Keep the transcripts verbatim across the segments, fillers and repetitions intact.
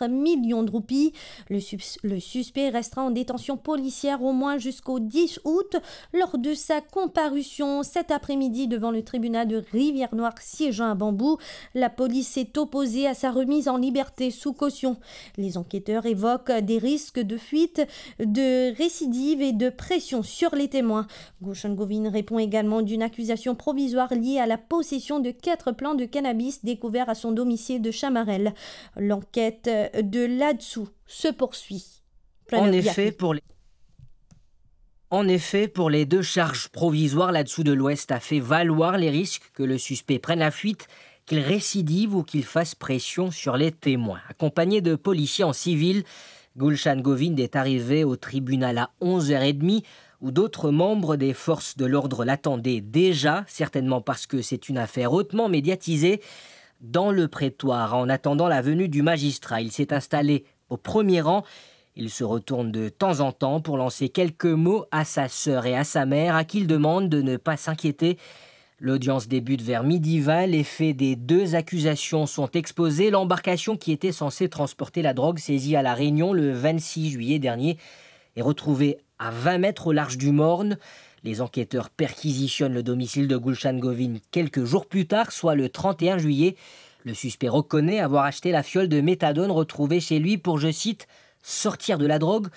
millions de roupies. Le sus-, le suspect restera en détention policière au moins jusqu'au dix août. Lors de sa comparution cet après-midi devant le tribunal de Rivière-Noire siégeant à Bambou, la police s'est opposée à sa remise en liberté sous caution. Les enquêteurs évoquent des risques de fuite, de récidive et de pression sur les témoins. Gulshan Govind répond également d'une accusation provisoire liée à la possession de quatre plants de cannabis découverts à son domicile de Chamarel. L'enquête de là-dessous se poursuit. En effet, pour les, en effet, pour les deux charges provisoires, là-dessous de l'Ouest a fait valoir les risques que le suspect prenne la fuite, qu'il récidive ou qu'il fasse pression sur les témoins. Accompagné de policiers en civil, Gulshan Govind est arrivé au tribunal à onze heures et demie, où d'autres membres des forces de l'ordre l'attendaient déjà, certainement parce que c'est une affaire hautement médiatisée. Dans le prétoire, en attendant la venue du magistrat, il s'est installé au premier rang. Il se retourne de temps en temps pour lancer quelques mots à sa sœur et à sa mère, à qui il demande de ne pas s'inquiéter. L'audience débute vers midi vingt. Les faits des deux accusations sont exposés. L'embarcation qui était censée transporter la drogue saisie à La Réunion le vingt-six juillet dernier est retrouvée à vingt mètres au large du Morne. Les enquêteurs perquisitionnent le domicile de Gulshan Govind quelques jours plus tard, soit le trente et un juillet. Le suspect reconnaît avoir acheté la fiole de méthadone retrouvée chez lui pour, je cite, sortir de la drogue.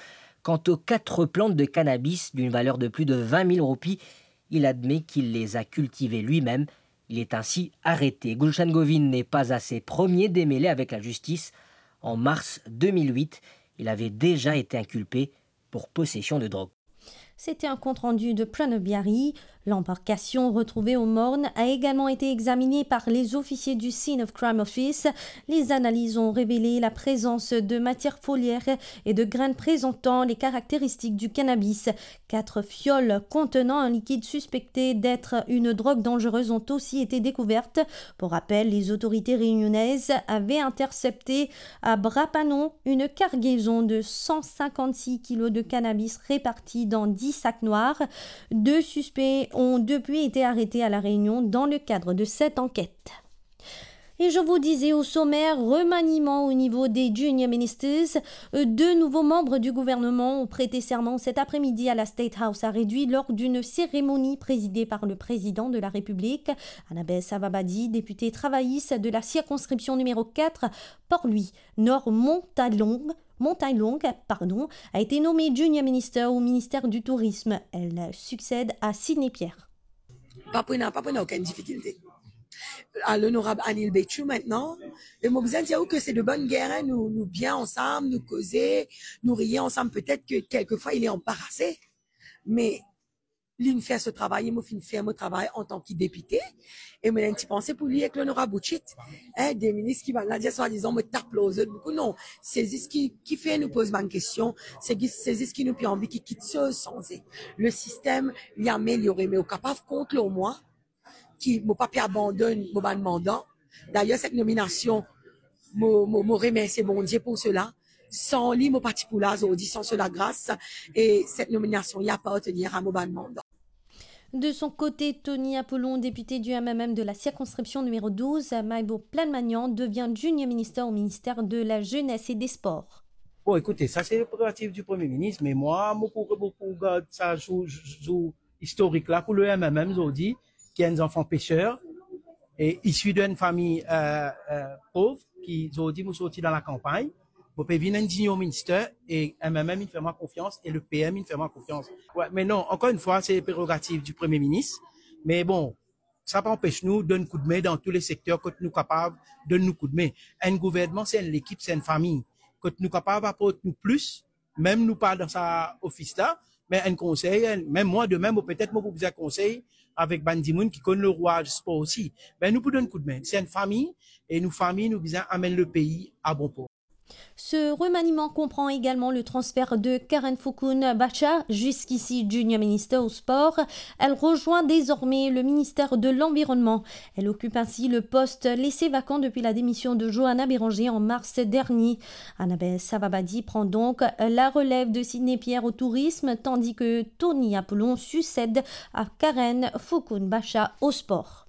Quant aux quatre plantes de cannabis d'une valeur de plus de vingt mille roupies, il admet qu'il les a cultivées lui-même. Il est ainsi arrêté. Gulshan Govind n'est pas à ses premiers démêlés avec la justice. En mars deux mille huit, il avait déjà été inculpé pour possession de drogue. C'était un compte-rendu de Pranav Biari. L'embarcation retrouvée au Morne a également été examinée par les officiers du Scene of Crime Office. Les analyses ont révélé la présence de matières foliaires et de graines présentant les caractéristiques du cannabis. Quatre fioles contenant un liquide suspecté d'être une drogue dangereuse ont aussi été découvertes. Pour rappel, les autorités réunionnaises avaient intercepté à Bras-Panon une cargaison de cent cinquante-six kilos de cannabis réparti dans dix sacs noirs. Deux suspects ont depuis été arrêtés à La Réunion dans le cadre de cette enquête. Et je vous disais au sommaire, remaniement au niveau des Junior Ministers. Euh, deux nouveaux membres du gouvernement ont prêté serment cet après-midi à la State House à Redwi lors d'une cérémonie présidée par le président de la République. Annabelle Savabadi, députée travailliste de la circonscription numéro quatre, Port-Louis, Nord Montagnelongue, Montagnelongue, pardon, a été nommée Junior Minister au ministère du Tourisme. Elle succède à Sidney Pierre. Pa pou ena, pa pou ena okenn difikilte. A Lonorab Anil Bechoo aster, e mo bizin dir ou ke se de bonn ger, hein, nou, nou bien ansam, nou koze, nou riye ansam, petet ke kelkefwa li anbarase, me li finn fer so travay, e mo finn fer mo travay antan ki depite, e mo ena enn ti panse pou li ek Lonorab Uchit, hein, de minis ki bann la dir swadizan mo tap lor zot boukou, non, se zis ki, ki fer nou poz bann kestion, se zis, se zis ki nou pe anvi ki kiksoz sanze. Le sistem, li ameliore, me ou kapav kont lor mwa, ki mo pa pe abandonn mo bann manda. Dayer, set nominasion, mo, mo, mo remersie Bondie pou sela. San li, mo pa ti pou la zordi, san so lagras, e set nominasion, li apartenir a mo bann manda. De son côté, Tony Apollon, député du M M M de la circonscription numéro douze, Maïbo Planmagnan, devient Junior Minister au ministère de la Jeunesse et des Sports. Bon, écoutez, ça c'est le prérogatif du Premier ministre, mais moi, mo pou, mo pou gard sa zour, zour istorik la pou le M M M zordi, ki enn zanfan peser, e isi de enn fami, euh, euh, pov, ki zordi mo sorti dan lakanpagn, mo pe vinn enn junior minister, e M M M inn fer mwa konfians, e le P M inn fer mwa konfians. Wi, me non, ankor enn fwa, se prerogativ di Premie Minis, me bon, sa pa anpes nou donn koudme dan tou le sekter kot nou kapav donn nou koudme. Enn gouvernman, se enn lekip, se enn fami. Kot nou kapav aport nou plis, mem nou pa dan sa ofis la, me enn konsey, enn, mem mwa demin, mo petet mo pou bizin konsey avek bann dimoun ki konn lerwa spor osi. Be nou pou donn koudme. Se enn fami, e nou fami, nou bizin amenn lepei a bon por. Ce remaniement comprend également le transfert de Karen Fukun Bacha, jusqu'ici Junior Minister au Sport. Elle rejoint désormais le ministère de l'Environnement. Elle occupe ainsi le poste laissé vacant depuis la démission de Johanna Béranger en mars dernier. Annabelle Savabadi prend donc la relève de Sidney Pierre au tourisme, tandis que Tony Apollon succède à Karen Fukun Bacha au sport.